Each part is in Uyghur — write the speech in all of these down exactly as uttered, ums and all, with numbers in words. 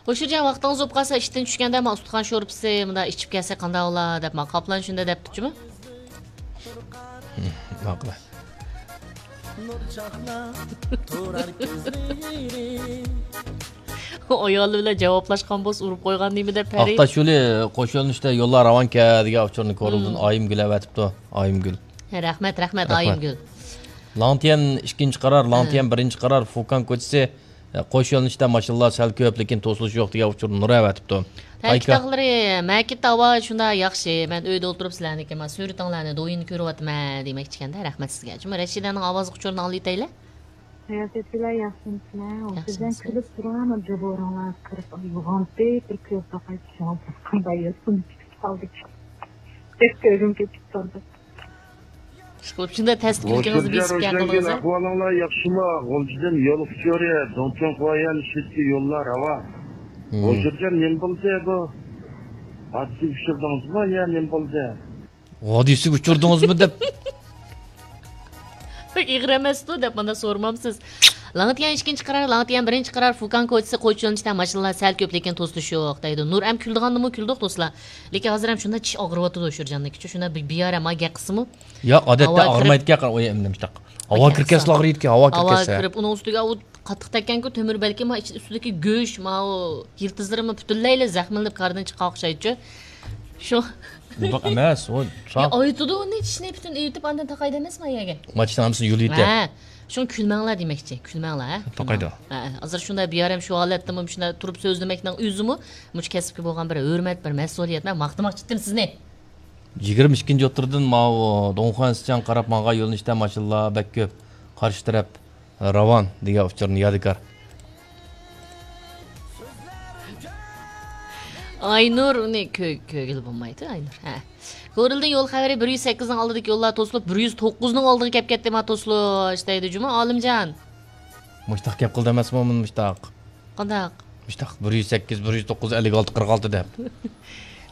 قوشۇرجان، ۋاقتىڭىز بولۇپ قالسا، ئىشتىن چۈشكەندە مانا ئۇستىخان شورپىسى مۇنداق ئىچىپ كەلسەك قانداق بولا دەپ، مانا قاپلان شۇنداق دەپتىچۇمۇ؟ ماقۇل. ئايالى بىلەن جاۋابلاشقان بولسا ئۇرۇپ قويغان نېمە دەپ پەرى. ئاقتاش يولى قوش يۆنىلىشتە يوللار راۋانكەن دېگەن ئۇچۇرنى كورلىدىن ئايىمگۈل ئەۋەتىپتۇ. ئايىمگۈل. رەھمەت، رەھمەت، رەھمەت. ئايىمگۈل. لاڭتيەن ئىككىنچى قارار، لاڭتيەن بىرىنچى قارار، فۇكان كوچىسى، قوش يۆنىلىشتە ماشىنىلار سەل كۆپ، لېكىن توسۇلۇش يوق دېگەن ئۇچۇرنى نۇر ئەۋەتىپتۇ. تەكىت تاغلىرى، مەكىت ھاۋا شۇنداق ياخشى. مەن ئۆيدە ئولتۇرۇپ سىلەرنىڭكى ما سۈرىتىڭلارنى، دويىنى كۆرۈۋاتىمەن دېمەكچىكەندە. رەھمەت سىزگە. جۇمۇ رەشىدەنىڭ ئاۋازلىق ئۇچۇرىنى ئاڭلىتەيلى. رىياسەتچىلەر ياخشىمۇسىلەر؟ ياخشىمۇسىز؟ سىزدىن كۈلۈپ تۇرۇڭ، جۇبۇرۇڭلار قىرىپ يوغانتى، بىر كۆز باقاي چۈشىڭىز قانداق ياسىنىپ كېتىپ قالدى. بەك كۆزۈم كېتىپ قالدى. ئىشقىلىپ شۇنداق تەستە كۈلكىڭىزنى بېسىپ گەپ قىلدىڭىز. ئەھۋالىڭلار ياخشىمۇ؟ غۇلجىدىن يول ئۇچۇرى، دۇڭچۇڭخۇا يەنى شىتكە يوللار راۋان. غۇلجىدىن نېمە بولدى بۇ؟ ھادىسە ئۇچۇردىڭىزمۇ يا نېمە بولدى؟ ھادىسىگە ئۇچۇردىڭىزمۇ دەپ. بەك ئېغىر ئەمەستۇ دەپ مانا سورىمامسىز. لاڭتيەن ئىككىنچى قارار، لاڭتيەن بىرىنچى قارار، فۇكان كوچىسى قوچۇلۇنۇشتا ماشىنىلار سەل كۆپ، لېكىن توسۇلۇش يوق دەيدۇ. نۇر ئەم كۈلىدىغاندىمۇ كۈلدۇق دوستلار. لېكىن ھازىر ھەم شۇنداق چىش ئاغرىۋاتىدۇ شۇرجاننىڭكىچۇ، شۇنداق بىر بىيارە ما گەپ قىلسىمۇ. ياق، ئادەتتە ھاۋا كىرىپ، ئاغرىمايدىكەن، ئۇ ئېمىنىمىشتاق. ھاۋا كىركەسلا ئاغرىيدىكەن، ھاۋا كىركەسلا. ھاۋا كىرىپ، ئۇنىڭ ئۈستىگە ئۇ قاتتىق تەگكەنكۇ تۆمۈر، بەلكىم ما ئىچ-، ئۈستىدىكى گۆش، ماۋۇ يىلتىزلىرىمۇ پۈتۈنلەيلا زەخىملىنىپ كاردىن چىققان ئوخشايدۇچۇ. شۇ. ئۇنداق ئەمەس، ئۇ يا، ئايتىدۇ ئۇنى، چىشنى پۈتۈن ئېيتىپ، ئاندىن تاقاي دەمەسمۇ يەرگە؟ ما چىشنى ھەممىسىنى يۇلۇۋېتە. ھە، شۇڭا كۈلمەڭلار دېمەكچى، كۈلمەڭلار، ھە؟ تاقايدۇ. ھە، ھازىر شۇنداق بىيارەم شۇ ھالەتتىمۇ شۇنداق تۇرۇپ سۆزلىمەكنىڭ ئۆزىمۇ مۇشۇ كەسىپكە بولغان بىر ھۆرمەت، بىر مەسئۇلىيەت. مەن ماختىماقچى ئىدىم سىزنى. يىگىرمە ئىككىنچى ئوتتۇرىدىن ماۋۇ دۇڭخۇەن سىچاڭ قاراپ ماڭغان يۆنىلىشتە ماشىنىلار بەك كۆپ. قارشى تەرەپ راۋان دېگەن ئۇچۇرنى يادىكار. ئاينۇر ئۇنى كۆ-، كۆرگىلى بولمايدۇ، ئاينۇر. ھە. كورلىدىن يول خەۋىرى، بىر يۈز سەككىزنىڭ ئالدىدىكى يوللار توسۇلۇپ، بىر يۈز توققۇزنىڭ ئالدىغا كەپ كەتتى، ما توسۇلۇش دەيدۇ جۇمۇ، ئالىمجان. مۇشتاق گەپ قىلدى ئەمەسمۇ، مۇشتاق. قانداق؟ مۇشتاق، بىر يۈز سەككىز، بىر يۈز توققۇز، ئەللىك ئالتە، قىرىق ئالتە دەپ.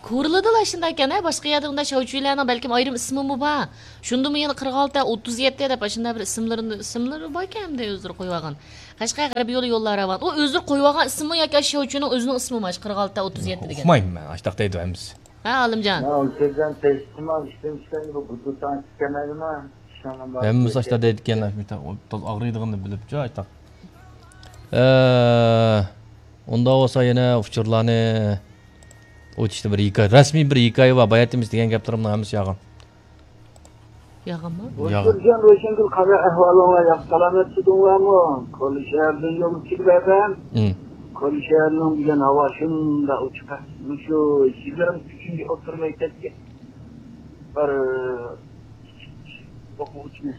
كورلىدىلا شۇنداق ئىكەن، ھە، باشقا يەردە ئۇنداق شاۋچۈيلەرنىڭ بەلكىم ئايرىم ئىسمىمۇ بار. شۇندىمۇ يەنە قىرىق ئالتە، ئوتتۇز يەتتە دەپ ئاشۇنداق بىر ئىسىملىرىنى، ئىسىملىرى باركەن ئەمدى ئۆزلىرى قويۇۋالغان. قەشقەر غەربىي يولى يوللار راۋان. ئۇ ئۆزلىرى قويۇۋالغان ئىسىممۇ ياكى شاۋچۈينىڭ ئۆزىنىڭ ئىسمىمۇ ئاشۇ قىرىق ئالتە، ئوتتۇز يەتتە دېگەن؟ ئۇقمايمەن مەن، ئاشۇنداق دەيدۇ ھەممىسى. ھە، ئالىمجان. مەن ئۇنچە ئىشتىن چىقىمەن، بۇ بۇ تاڭ چىقىمەنمۇ؟ ھەممىسى ئاشۇنداق دەيدىكەن، ئاغرىيدىغىنىنى بىلىپچۇ، ئاشۇنداق. ئە، ئۇنداق بولسا يەنە ئۇچۇرلارنى ئوچۇشتا بىر ھېكايە، رەسمىي بىر ھېكايە بار. باياتىمىز دېگەن گەپلىرىمنىڭ ھەممىسى يالغان. يالغانمۇ؟ يالغان. روشەنگۈل، قانداق ئەھۋالىڭلار؟ ياخشى سالامەت تۇردۇڭلارمۇ؟ كورلا شەھەردىن يولغا چىقىپ بەردىم. كورلا شەھەرنىڭ بۈگۈن ھاۋا شۇنداق ئوچۇق. مۇشۇ يىگىرمە ئۈچىنچى ئوتتۇرا مەكتەپكە بىر ئوقۇغۇچىنى،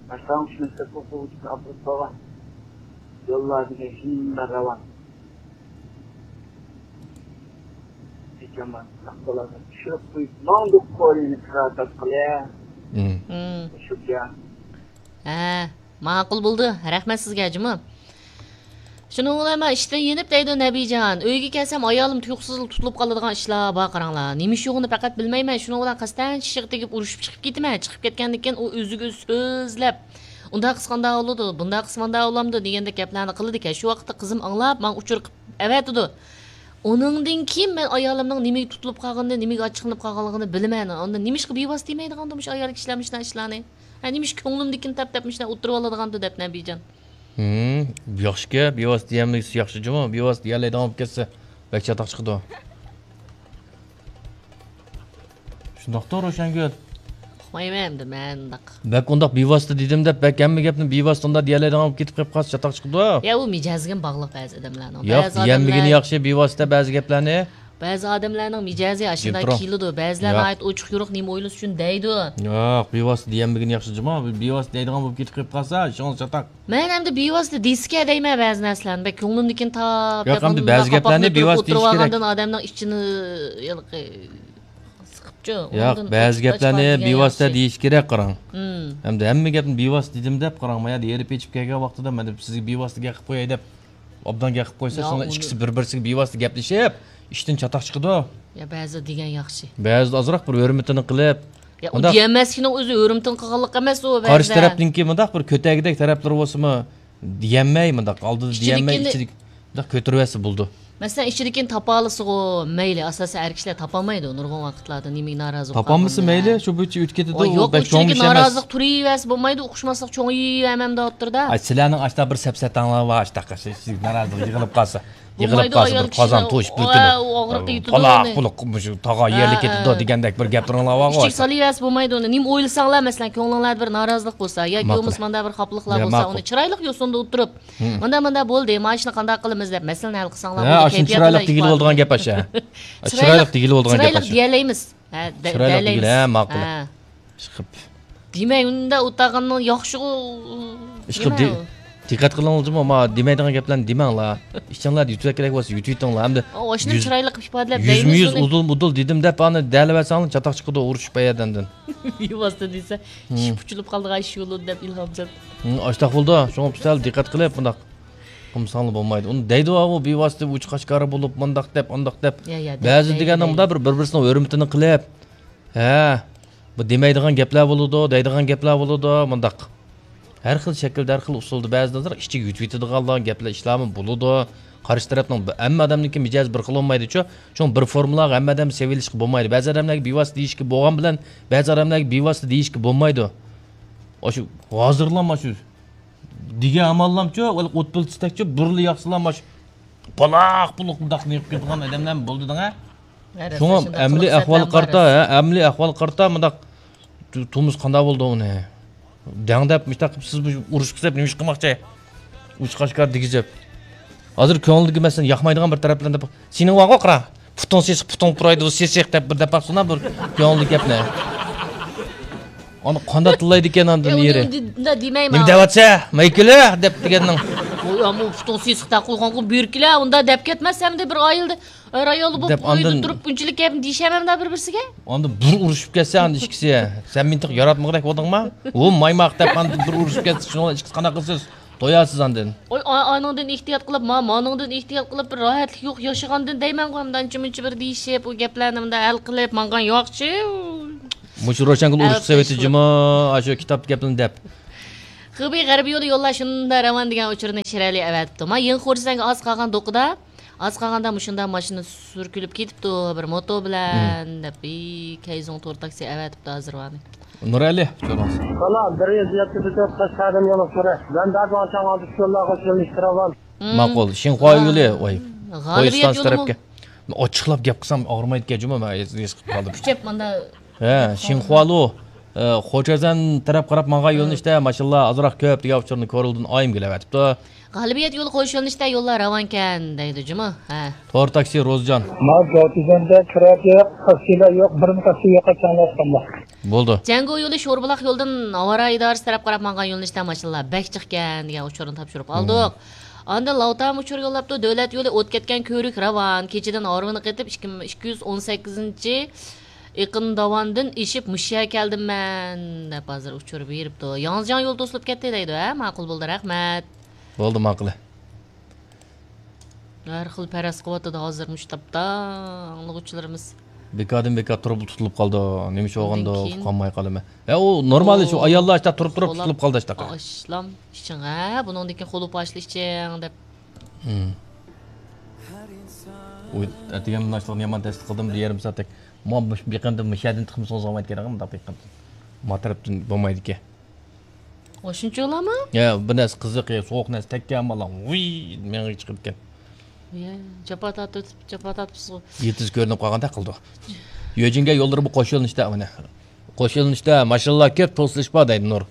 باشلانغۇچ مەكتەپ ئوقۇغۇچىسىنى ئاپىرىپ قالغان. يوللار دېگەن شۇنداق راۋان. ھە، ماقۇل بولدى. رەھمەت سىزگە جۇمۇ. شۇنىڭ بىلەن مەن ئىشتىن يېنىپ دەيدۇ نەبىجان. ئۆيگە كەلسەم ئايالىم تۇيۇقسىزلا تۇتۇلۇپ قالىدىغان ئىشلار بار قاراڭلار. نېمە ئىش يوغىنى پەقەت بىلمەيمەن. شۇنىڭ بىلەن قەستەن چىشىغا تېگىپ ئۇرۇشۇپ چىقىپ كېتىمەن. چىقىپ كەتكەندىن كېيىن ئۇ ئۆزىگە ئۆزى سۆزلەپ، ئۇنداق قىلسا قانداق بولىدۇ، بۇنداق قىلسا مانداق بولامدۇ دېگەندەك گەپلەرنى قىلىدىكەن. شۇ ۋاقىتتا قىزىم ئاڭلاپ ماڭا ئۇچۇر قىلىپ ئەۋەتىدۇ. ئۇنىڭدىن كېيىن مەن ئايالىمنىڭ نېمىگە تۇتۇلۇپ قالغىنىنى، نېمىگە ئاچچىقلىنىپ قالغانلىقىنى بىلىمەن. ئاندىن نېمىشقا بىۋاسىتە دېمەيدىغاندۇ مۇشۇ ئايال كىشىلەر مۇشۇنداق ئىشلارنى؟ ھە، نېمىشقا كۆڭلۈمدىكىنى تاپ دەپ مۇشۇنداق ئوتتۇرىۋالىدىغاندۇ دەپ نەبىجان. ھىم، ياخشىكەن، بىۋاسىتە دېيەلمىگىنى ياخشى جۇمۇ، بىۋاسىتە دېيەلەيدىغان بولۇپ كەتسە بەك چاتاق چىقىدۇ. شۇنداقتۇ، روشەنگۈل؟ ئۇقمايمەن ئەمدى مەن ئۇنداق. بەك ئۇنداق بىۋاسىتە دېدىم دەپ، بەك ھەممە گەپنى بىۋاسىتە ئۇنداق دېيەلەيدىغان بولۇپ كېتىپ قېلىپ قالسا چاتاق چىقىدۇ. يا، ئۇ مىجەزگىمۇ باغلىق بەزى ئادەملەرنىڭ. ياق، بەزى دېيەلمىگىنى ئادەملەر ياخشى، بىۋاسىتە بەزى گەپلەرنى. بەزى ئادەملەرنىڭ مىجەزى ئاشۇنداق كېلىدۇ. بەزىلەر ناھايىتى ئوچۇق يورۇق نېمە ئويلىسا شۇنى دەيدۇ. ياق، بىۋاسىتە دېيەلمىگىنى ياخشى جۇمۇ. بىۋاسىتە دەيدىغان بولۇپ كېتىپ قېلىپ قالسا، ئىشىڭىز چاتاق. مەن ئەمدى بىۋاسىتە دېسىكە دەيمەن بەزى نەرسىلەرنى. بەك كۆڭلۈمدىكىنى تاپ، ياق، ئەمدى بەزى گەپلەرنى بىۋاسىتە دېيىش كېرەك. ئادەمنىڭ ئىچىنى ھېلىقى سىقىپچۇ. ياق، بەزى گەپلەرنى بىۋاسىتە دېيىش كېرەك، قاراڭ. ھىم. ئەمدى ھەممە گەپنى بىۋاسىتە دېدىم دەپ قاراڭ، ما يەردە ھېرىپ ئېچىپ كەلگەن ۋاقتىدا مەن سىزگە بىۋاسىتە گەپ قىلىپ قوياي دەپ، ئوبدان گەپ قىلىپ قويسا، سىلەر ئىككىسى بىر-بىرسىگە بىۋاسىتە گەپلىشىپ، ئىشتىن چاتاق چىقىدۇ. يا، بەزىدە دېگەن ياخشى. بەزىدە ئازراق بىر ھۆرمىتىنى قىلىپ، يا، ئۇ دېيەلمەسلىكىنىڭ ئۆزى ھۆرمىتىنى قىلغانلىق ئەمەسمۇ بەزىدە. قارشى تەرەپنىڭكى مۇنداق بىر كۆتەرگۈدەك تەرەپلىرى بولسىمۇ، دېيەلمەي مۇنداق، ئالدىدا دېيەلمەي، ئىچىدىكىنى ئىچىدىكى شۇنداق كۆتۈرۈۋەتسە بولىدۇ. مەسىلەن، ئىچىدىكىنى تاپالىسىغۇ، مەيلى، ئاساسەن ئەر كىشىلەر تاپالمايدۇ نۇرغۇن ۋاقىتلاردا نېمىگە نارازى بولۇپ تاپالمىسا قالغاننى. مەيلى، شۇ بويىچە ئۆتۈپ كېتىدۇ، ئۇ يوق، بەك چوڭ ئىچىدىكى ئىش ئەمەس. نارازىلىق تۇرۇۋەرسە بولمايدۇ، ئۇقۇشماسلىق چوڭىيىۋەرمەمدۇ ئوتتۇرىدا. ئاي، سىلەرنىڭ ئاشتا بىر سەپسەتەڭلار بار، ئاشتا نارازىلىق يىغىلىپ قالسا، يىغىلىپ بولمايدۇ، قالسا ئايال بىر قازان كىشىنىڭ توشۇپ بىر ئۇ، كۈنى ئۇ ئاغرىقى يېتىدۇ پالاق ئۇنى. بولۇپ، مۇشۇ تاغا يەرلىك ھە. كېتىدۇ دېگەندەك بىر گەپلىرىڭلار بارغۇ. ئىچىگە سالىۋەرسە بولمايدۇ ئۇنى. نېمە ئويلىساڭلار، مەسىلەن، كۆڭلۈڭلاردا بىر نارازىلىق بولسا ياكى ماقۇل. بولمىسا ماندا بىر خاپىلىقلار يا، بولسا، ماقۇل. ئۇنى چىرايلىق يوسۇندا ئولتۇرۇپ، مم. ماندا، ماندا بولدى، مانا شۇنى قانداق قىلىمىز دەپ مەسىلىنى ھەل قىلساڭلار، ھە، بولدى، ئاشۇنى كەيپىياتى چىرايلىق بىلەن دېگىلى ئىپادىلەڭ. بولىدىغان گەپ ئاشۇ. چىرايلىق، چىرايلىق دېگىلى بولىدىغان گەپ چىرايلىق ئاشۇ. دېيەلەيمىز. ھە، دە-، چىرايلىق دېيەلەيمىز. دېگىلى، ھە، ماقۇل. ھە. چىقىپ. دېمەي، ئۇندا ئولتۇرغاننىڭ ياخشىغۇ، ئىشقىلىپ نېمە دى-، ئۇ؟ دىققەت قىلىڭلار جۇمۇ، ما دېمەيدىغان گەپلەرنى دېمەڭلار. ئىچىڭلاردا يۇتۇۋەتكۈدەك بولسا يۇتۇۋېتىڭلار. ئەمدى ئاشۇنى يۈز-، چىرايلىق ئىپادىلەپ يۈزمۇ دەيمىز يۈز ئۇنى. ئۇدۇل مۇدۇل دېدىم دەپ، ئانى دەلىۋەتسەڭلار چاتاق چىقىدۇ، ئۇرۇشۇپ بەيەردىن. بىۋاسىتە دېسە، ئىشىك پۇچۇلۇپ قالىدىغان ئىش يولۇن دەپ ئىلھام سەپ. ھىم، ئاشتاق بولىدۇ. شۇڭا سەل دىققەت قىلىپ، بۇنداق قىلمىساڭلار بولمايدۇ. ئۇنى دەيدۇ، ئۇ بىۋاسىتە ئۇچ قاشقارى بولۇپ، مۇنداق دەپ، ئانداق دەپ. يا، يا، دەيدۇ، بەزى دەيدۇ، دېگەننىڭ دەيدۇ. مۇنداق بىر، بىر-، بىرسىنىڭ ھۆرمىتىنى قىلىپ، ھە، بۇ دېمەيدىغان گەپلەر بولىدۇ، دەيدىغان گەپلەر بولىدۇ، مۇنداق. ھەر خىل شەكىلدە، ھەر خىل ئۇسۇلدا بەزىدە ئىچىگە يۇتۇۋېتىدىغانلار، گەپلەر، ئىشلارمۇ بولىدۇ. قارشى تەرەپنىڭ ب-، ھەممە ئادەمنىڭكى مىجەزى بىر خىل بولمايدۇچۇ. شۇڭا بىر فورمۇلاغا ھەممە ئادەم سېلىشقا بولمايدۇ. بەزى ئادەملەرگە بىۋاسىتە دېيىشكە بولغان بىلەن، بەزى ئادەملەرگە بىۋاسىتە دېيىشكە بولمايدۇ. ئاشۇ ھازىرلام ئاشۇ دېگەن ئاماللامچۇ، ئوت پىلتىسىدەكچۇ، بۇرۇللا ياقسىلا ماش پالاق پۇلۇق مۇنداق نېقىپ كېتىدىغان ئادەملەرمۇ بولدى دەڭە. ھە، شۇڭا شۇنداق ئەمەلىي قىلىپ ئەھۋالغا سەتلەر قارىتا، بار. ھە، ئەمەلىي ئەھۋالغا قارىتا مۇنداق تو-، تۇرمۇش قانداق بولدى ئۇنى؟ دەڭ دەپ مۇشتاق قىلىپ سىز بۇ ئۇرۇش قىلساپ نېمە ئىش قىلماقچى؟ ئۇچ قاشقار دېگۈزۈپ. ھازىر كۆڭلىگە مەسىلەن ياقمايدىغان بىر تەرەپلەرنى دەپ، سېنىڭ بارغۇ قارا، پۇتۇڭ سېسىق، پۇتۇڭ پۇرايدۇ، سېسىق دەپ بىر دەپ باقسىنا بىر كۆڭۈلدىكى گەپنى. ئانا قانداق تىللايدىكەن ئاندىن ئۇنى يېرى. ئۇنداق دېمەيمەن. نېمە دەۋاتسە؟ مايكىلى دەپ دېگەننىڭ. ئۇ يا، بۇ پۇتۇڭ سېسىق دەپ قويغانغۇ بىركىلە، ئۇنداق دەپ كەتمەس ئەمدى بىر ئائىلىدە ئەر ئايالى بولۇپ دەپ ئۇ يەردە ئاندىن تۇرۇپ بۇنچىلىك گەپنى دېيىشەمەمدا بىر بىرسىگە. ئاندىن بىر ئۇرۇشۇپ كەتسە ئاندىن ئىككىسى. سەن مېنى تېخى ياراتمىغۇدەك بولدۇڭما؟ ۋۇ مايماق دەپ ئاندىن بىر ئۇرۇشۇپ كەتسە شۇنىڭ ئىككىسى قانداق قىلىسىز؟ توياسىز ئاندىن. ئوي، ئا-، ئانىڭدىن ئېھتىيات قىلىپ، ما-، مانىڭدىن ئېھتىيات قىلىپ، بىر راھەتلىك يوق ياشىغاندىن دەيمەنغۇ، ئەمدى ئانچە مۇنچە بىر دېيىشىپ، ئۇ گەپلەرنى مۇنداق ھەل قىلىپ ماڭغان يوقچۇ. مۇشۇ روشەنگۈل ئۇرۇشۇپ سېۋەتتى جۇمۇ، ئاشۇ كىتاب گەپلىرىنى دەپ. خېبېي غەربىي يولى يوللار شۇنداق راۋان دېگەن ئۇچۇرنى شىرئەلى ئەۋەتىپتۇ. ما يېڭى خورسەنگە ئاز قالغان دوقىدا، ئاز قالغاندا مۇشۇنداق ماشىنا سۈركىلىپ كېتىپتۇ، بىر موتو بىلەن دەپ، ئى، كەيزۇڭ تور تاكسى ئەۋەتىپتۇ ھازىر ۋانى. نۇرئەلى، ئۇچۇرىڭىز. سالام، بىر يۈز يەتتە تۆت قەشقەردىن يولۇق سۈرە. مەن دەربان چاڭ ئالدى شۇلارغا شۇلىنىشتىرىۋال. مم. ماقۇل. شىنخۇا يولى، ۋاي. غالىبىيەت يولىمۇ. ئاچچىقلاپ گەپ قىلسام ئاغرىمايدىكەن جۇمۇ، مەن ھېس قىلىپ قالدىم. كۈچەپ ماندا. ھە، شىنخۇالۇ، ئە، خوچەزەن تەرەپ قاراپ ماڭغان يۆنىلىشتە ماشىنىلار ئازراق كۆپ دېگەن ئۇچۇرنى كورلدىن ئايىم گۈل ئەۋەتىپتۇ. غالىبىيەت يولى قويۇش يۆنىلىشىدە يوللار راۋانكەن دەيدۇ جۇمۇ. ھە. تور تاكسى روزجان. ما جوتىزەندە كىرەك يوق، تاكسىلار يوق، بىرمۇ تاكسى يوق، چاڭلاشقاندا. بولدى. جەڭگو يولى شوربۇلاق يولىدىن ئاۋارە ئىدارىسى تەرەپ قاراپ مانغان يۆنىلىشتە ماشىنىلار بەك جىقكەن دېگەن ئۇچۇرنى تاپشۇرۇپ ئالدۇق. ئاندىن لاۋتام ئۇچۇر يوللاپتۇ، دۆلەت يولى ئوت كەتكەن كۆۋرۈك راۋان، كېچىدىن ھارۋىنى قېتىپ ئىككى، ئىككى يۈز ئون سەككىزىنچى ئېقىن داۋاندىن ئېشىپ مۇشۇ يەرگە كەلدىم مەن دەپ ھازىر ئۇچۇر بېرىپتۇ. ياڭزىجياڭ يولى توسۇلۇپ كەتتى دەيدۇ، ھە؟ ماقۇل بولدى، رەھمەت. بولدى، ماقۇل. ھەر خىل پەرەز قىلىۋاتىدۇ ھازىر مۇشۇ تاپتا ئاڭلىغۇچىلىرىمىز. بىكاردىن بىكار تۇرۇپ تۇتۇلۇپ قالدى. نېمە ئىش بولغاندۇ ئۇقالماي قالىمەن. ھە، ئۇ نورمال ئىش، ئۇ ئاياللار ئاشتا تۇرۇپ تۇرۇپ تۇتۇلۇپ قالدى ئاشتا. ئاشلام ئىچىڭ، ھە، بۇنىڭدىن كېيىن خولۇپ ئاشلا ئىچىڭ دەپ. ھىم. ئۇ ئەتىگەن ناشتىلىقنى يامان تەستە قىلدىم، بىر يېرىم سائەتتەك. مانا مۇشۇ بېقىندىن مۇشۇ يەردىن تىقمىسىڭىز بولمايدىكەن، مۇنداق بېقىندىن. ما تەرەپتىن بولمايدىكەن. ئاشۇنچىلامۇ؟ يا، بىر نەرسە قىزىق، يا، سوغۇق نەرسە تەگكەن، مانا ۋىي مېڭىگە چىقىدىكەن. يا، جاپا تارتىپ، جاپا تارتىپسىزغۇ. يىلتىز كۆرۈنۈپ قالغاندەك قىلىدۇ. يۆجىنگە يوللىرى بۇ قوش يۆنىلىشتە، مانا. قوش يۆنىلىشتە ماشىنىلار كۆپ، توسۇلۇش بار دەيدۇ نۇر.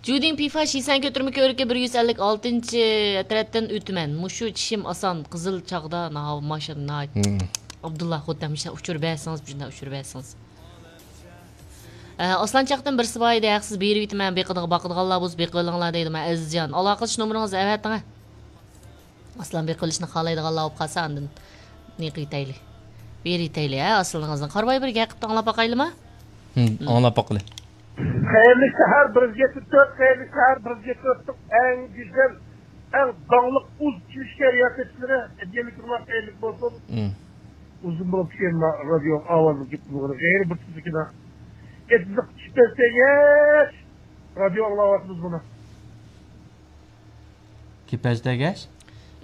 جۇدىڭ پىفا شىسەن كۆتۈرمە كۆۋرۈكى بىر يۈز ئەللىك ئالتىنچى ئەترەتتىن ئۆتىمەن. مۇشۇ چىشىم ئاسان، قىزىل چاغدا ناھاۋا ماشىنا ناھايىتى. ھىم. ئابدۇللا خوتەن مۇشۇنداق ئۇچۇر بەرسىڭىز، مۇشۇنداق ئۇچۇر بەرسىڭىز. ئە، ئاسلان چاقتىن بىرسى بار ئىدى، ھەقسىز بېرىۋېتىمەن، بېقىدىغا-، باقىدىغانلار بولسا بېقىۋېلىڭلار دەيدۇ. مەن ئەزىزجان، ئالاقىلىشىش نومۇرىڭىزنى ئەۋەتىڭە. ئاسلان بېقىۋېلىشنى خالايدىغانلار بولۇپ قالسا، ئاندىن نېقىۋېتەيلى. بېرىۋېتەيلى، ھە، ئاسلىنىڭىزنى. قارىۋاي بىر گەپ قىپتۇ، ئاڭلاپ باقايلىما؟ ھىم، ئاڭلاپ باقىلى. خەيرلىك سەھەر، بىر يۈز يەتتە تۆت، خەيرلىك سەھەر، بىر يۈز يەتتە تۆتنىڭ ئەڭ گۈزەل، ئەڭ داڭلىق ئۇز چۈشكە رىياسەتچىلىرى، ھەدىيەلىك تۇرما خەيرلىك بولسۇن. ھىم. ئۇزۇن بولۇپ كېيىن رادىيو ئاۋازىنى كېتىپ بولغىنى غەيرىي بىر تۈزۈكىدە. ئېتىزلىق كىپەز تەگەچ رادىيو ئاڭلاۋاتىمىز بۇنى. كىپەز تەگەچ؟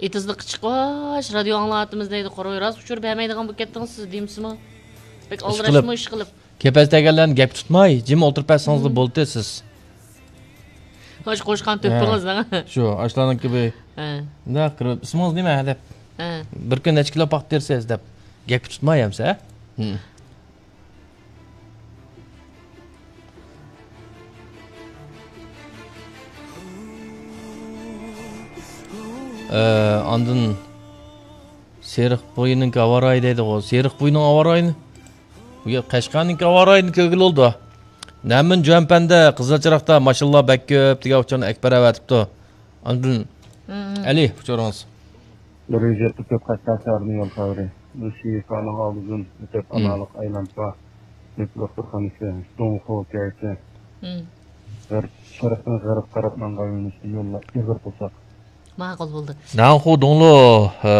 ئېتىزلىققا چىقىپ، ۋاش، رادىيو ئاڭلاۋاتىمىز دەيدۇ، قورۇي راست ئۇچۇر بەرمەيدىغان بولۇپ كەتتىڭىز سىز دېمىسىمۇ؟ بەك ئىش قىلىپ. ئالدىراشمۇ ئىش قىلىپ. كەپەس دېگەنلەرنى گەپكە تۇتماي، جىم ئولتۇرۇپ بەرسىڭىزلا بولدى سىز. ھاش قوشقان تۆپىڭىز، ھە. شۇ، ئاشۇلارنىڭكى بىر، ھە. مۇنداق قىلىپ، «ئىسمىڭىز نېمە؟» دەپ. ھە. «بىر كۈن نەچچە كىلو پاختا تېرىسىز؟» دەپ. گەپكە تۇتماي ئەمسە، ھە؟ ھە. ئە، ئاندىن سېرىق بويىنىڭكى ھاۋارايى دەيدىغۇ. سېرىق بويىنىڭ ھاۋارايىنى، بۇ يەر قەشقەرنىڭكى ھاۋارايىنى كۆرگىلى بولىدۇ. نەمىن جۈەنپەندە، قىزىل چىراغدا ماشىنىلار بەك كۆپ دېگەن ئۇچۇرنى ئەكبەر ئەۋەتىپتۇ. ئاندىن ئەلى، ئۇچۇرىڭىز. بىر يۈز يەتتە تۆت قەشقەر شەھىرىنىڭ يول خەۋىرى. بىز شىفانىڭ ئالدىدىن ئۆتۈپ، ئاناقلىق ئايلانسا، نېفىت دوختۇرخانىسى، دۇڭخۇ كەيسى، غەرب، شەرقتىن غەرب تەرەپ ماڭغان يۆنىلىشتە يوللار ئېغىر توساق. ماقۇل بولدى. نەنخۇ دۇڭلۇ، ئە،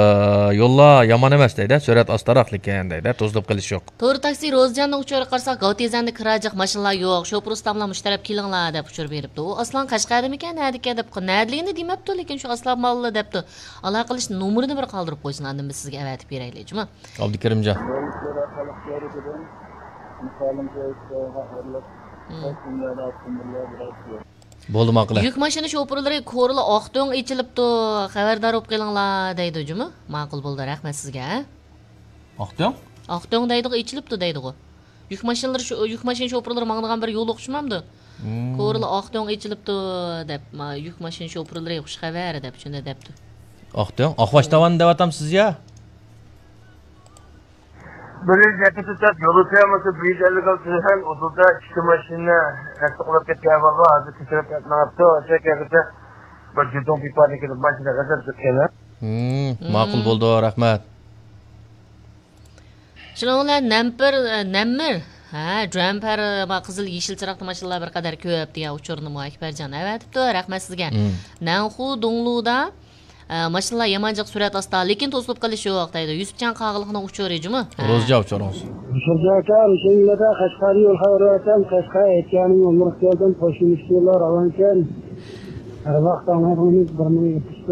يوللار يامان ئەمەس دەيدۇ، سۈرئەت ئاستىراق لېكىن دەيدۇ، توزۇلۇپ قېلىش يوق. تورى تاكسى روزىجاننىڭ ئۇچۇرىغا قارىساق، گاۋتېزەندە كىراجىق ماشىنىلار يوق، شوپۇر ئۇستاملار مۇشۇ تەرەپ كېلىڭلار دەپ ئۇچۇر بېرىپتۇ. ئۇ ئاسلان قەشقەردىمىكەن، نەدىكەن دەپ، نەدىلىكىنى دېمەپتۇ، لېكىن شۇ ئاسلان ماللا دەپتۇ. ئالاقىلىشىش نومۇرىنى بىر قالدۇرۇپ قويسۇن، ئاندىن بىز سىزگە ئەۋەتىپ بېرەيلى، جۇمۇ. ئابدۇكېرىمجان. بولدى، ماقۇل. يۈك ماشىنا شوپۇرلىرى كورلا ئاق تۆڭ ئېچىلىپتۇ، خەۋەردار بولۇپ قېلىڭلار دەيدۇ، جۇمۇ. ماقۇل بولدى، رەھمەت سىزگە. ئاق تۆڭ؟ ئاق تۆڭ دەيدىغۇ، ئېچىلىپتۇ دەيدىغۇ. يۈك ماشىنىلىرى شۇ، يۈك ماشىنا شوپۇرلىرى ماڭىدىغان بىر يول ئوخشىمامدۇ؟ كورلا ئاق تۆڭ ئېچىلىپتۇ دەپ، ما، يۈك ماشىنا شوپۇرلىرى خۇش خەۋەر دەپ شۇنداق دەپتۇ. ئاق تۆڭ؟ ئاقباش داۋان دەۋاتامسىز يا؟ بىر يۈز يەتتە تۆت يولۇچى بولسا بىر يۈز ئەللىك ئالتە تۆلىگەن ئۇدۇلدا ئىككى ماشىنا ئەستە قۇلاپ كەتكەن ئەھۋال بار. ھازىر تەكشۈرۈپ مېڭىپتۇ. ئاشۇ يەرگىچە بىر جۇدۇڭ پىپادىن كېلىپ ماشىنا غەزەپ چىققان. ماقۇل بولدى، رەھمەت. شۇنىڭ بىلەن نەمپىر، نەممىر، ھە، جۈەمپەر، قىزىل يېشىل چىراغدا ماشىنىلار بىر قەدەر كۆپ دېگەن ئۇچۇرنىمۇ ئەكبەرجان ئەۋەتىپتۇ. رەھمەت سىزگە. نەنخۇ دۇڭلۇدا، ئە، ماشىنىلار يامان جىق سۈرئەت ئاستا، لېكىن توسۇلۇپ قېلىش يوق دەيدۇ. يۈسۈپجان قاغىلىقنىڭ ئۇچۇرى جۇمۇ. ھە. روزىجان ئۇچۇرىڭىز. يۈسۈپجان ئاكا، مۇشۇ يىلدا قەشقەردىن يول خەۋىرى ئەۋەتسەم، قەشقەر ئەتكەننىڭ يوللىرىغا كەلدىم، قوشۇن ئىككى يوللار راۋانكەن. ھەر ۋاقىت ئاڭلايدىغىنىمىز بىر مىڭ يەتمىش